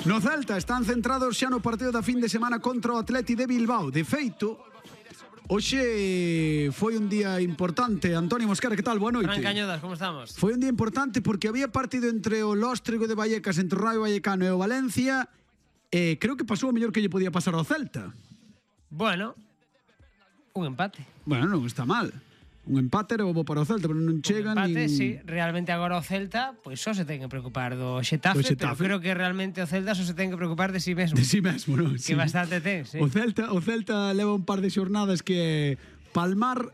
No Celta están centrados xa no partido da fin de semana contra o Atleti de Bilbao. De feito, hoxe foi un día importante. Antonio Mosquera, que tal? Boa noite. Fran Cañodas, como estamos? Foi un día importante porque había partido entre o Lóstrego de Vallecas, entre o Rayo Vallecano e o Valencia. Creo que pasou o mellor que lle podía pasar ao Celta. Bueno, un empate. Bueno, non está mal. Un empate era bo para o Celta, pero non chega Un empate, nin... sí. Realmente agora o Celta, pois só se ten que preocupar do Xetafe, pero creo que realmente o Celta só se ten que preocupar de si mesmo. De si mesmo, non? Que bastante ten, sí. O Celta leva un par de xornadas que palmar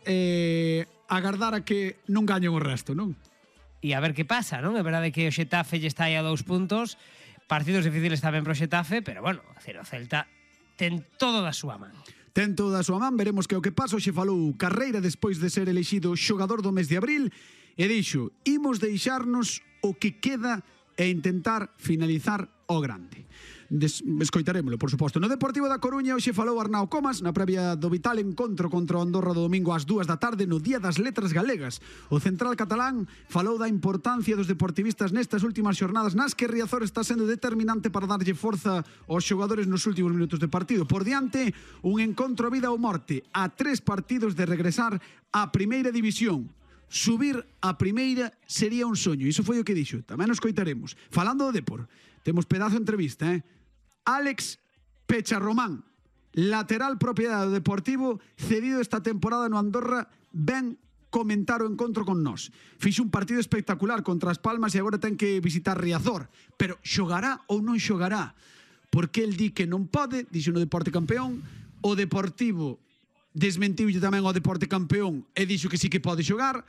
agardar a que non gañen o resto, non? E a ver que pasa, non? É verdade que o Xetafe lle está aí a 2 puntos, partidos difíciles tamén pro Xetafe, pero bueno, o Celta ten todo da súa man. Ten toda a súa man, veremos que o que pasa. Hoxe falou Carreira despois de ser elexido xogador do mes de abril e dixo: imos deixarnos o que queda e intentar finalizar o grande. Escoitarémolo, por suposto. No Deportivo da Coruña hoxe falou Arnau Comas na previa do vital encontro contra o Andorra do domingo ás 2 da tarde no Día das Letras Galegas. O central catalán falou da importancia dos deportivistas nestas últimas xornadas nas que Riazor está sendo determinante para darlle forza aos xogadores nos últimos minutos de partido. Por diante, un encontro a vida ou morte a 3 partidos de regresar á Primeira División. Subir a primeira sería un soño. Iso foi o que dixo. Tamén nos coitaremos. Falando do Depor, temos pedazo de entrevista, Alex Pecharromán, lateral propiedade do Deportivo, cedido esta temporada no Andorra, ven comentar o encontro con nós. Fixo un partido espectacular contra as Palmas e agora ten que visitar Riazor. Pero xogará ou non xogará? Porque el di que non pode, dixo no Deporte Campeón, o Deportivo desmentiulle tamén ao Deporte Campeón e dixo que sí que pode xogar.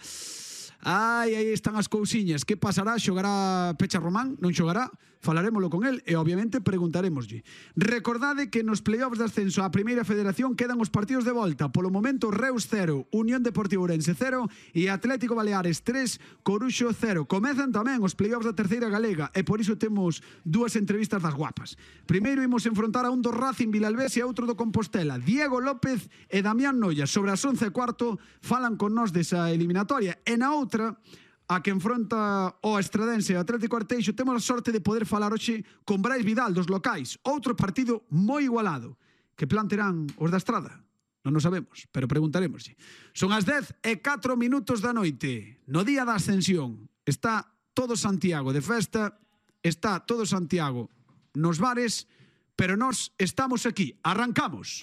Aí están as cousiñas. Que pasará? Xogará Pecharromán? Non xogará? Falarémolo con el e obviamente preguntarémoslle. Recordade que nos playoffs de ascenso á Primeira Federación quedan os partidos de volta. Polo momento Reus 0, Unión Deportiva Ourense 0 e Atlético Baleares 3, Coruxo 0. Comezan tamén os playoffs da Terceira Galega e por iso temos dúas entrevistas das guapas. Primeiro imos enfrontar a un do Racing Vilalbés e a outro do Compostela. Diego López e Damián Noia sobre as 11:15 falan con nós desa eliminatoria. E na outra, a que enfronta o Estradense e o Atlético Arteixo, temos a sorte de poder falar hoxe con Brais Vidal dos locais. Outro partido moi igualado. Que plan terán os da Estrada? Non o sabemos, pero preguntaremoslle. Son as 10:04 da noite. No día da ascensión está todo Santiago de festa, está todo Santiago nos bares, pero nós estamos aquí. Arrancamos.